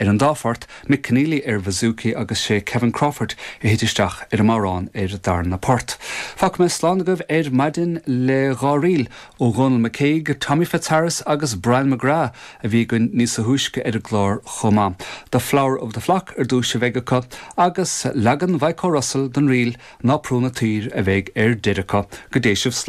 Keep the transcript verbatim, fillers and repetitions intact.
Ar an dá phort, Mick Keneally ar bouzouki agus sé Kevin Crawford a thit isteach ar an amhrán ar darna port. Fágfaidh mé slán agaibh ar maidin le dhá ríl ó Dhónal McCaig, Tommy Fitzharris agus Brian McGrath a bhí againn níos túisce ar an gclár chomh maith. The Flower of the Flock ar dtús a bheidh acu agus leagan Mhichael Russell den ríl Ná Prún an tSaoir a bheidh ar deireadh acu go dté sibh slán.